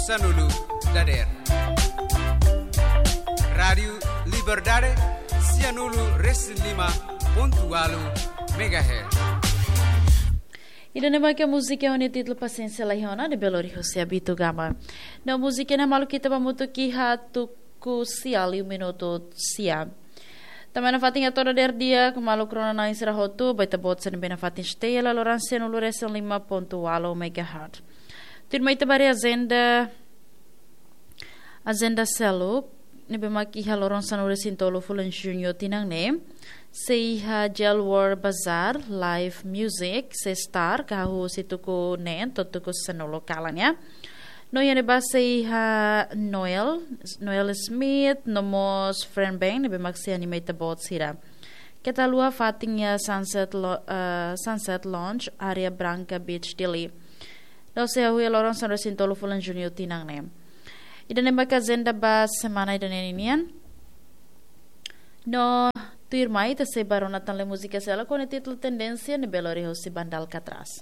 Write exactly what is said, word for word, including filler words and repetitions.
Sanulu dader. Rádiu Liberdade, sianulu resin lima pontu walu megahertz. Ida-ne'e mak múzika ho nia títulu Pasiénsia Laiha Ona, ne'ebé lori husi Abito Gama. No múzika ne'e malu ita ba hamutuk iha tuku sia liu minutu sia. Tanba nafatin hato'o dader di'ak maluk rona-na'in sira hotu, ba ita-boot sira ne'ebé nafatin stay hela loron sianulu resin lima pontu walu megahertz. Tuirmai ita ba haree ajenda, ajenda seluk, ne'ebé mak iha loron sanulu resin tolu fulan Juñu tinan ne'e, sei iha Jewel World Bazaar, live music, sei start, ka husi tuku neen to'o tuku sanulu kalan ya. No iha ne'ebá sei iha Noel, Noel Smith, no mós Friend Band, ne'ebé mak sei anima ita-boot sira. Keta haluha fatin iha Sunset Lo-, eh, Sunset Lounge, Areia Branca Beach, Dili. No sei hahú iha loron sanulu resin tolu fulan Juñu tinan ne'e. Ida-ne'e mak ajenda ba semana ida-ne'e nian. No tuirmai ita sei ba rona tan le múzika seluk ho nia títulu Tendénsia, ne'ebé lori husi banda Alcatraz.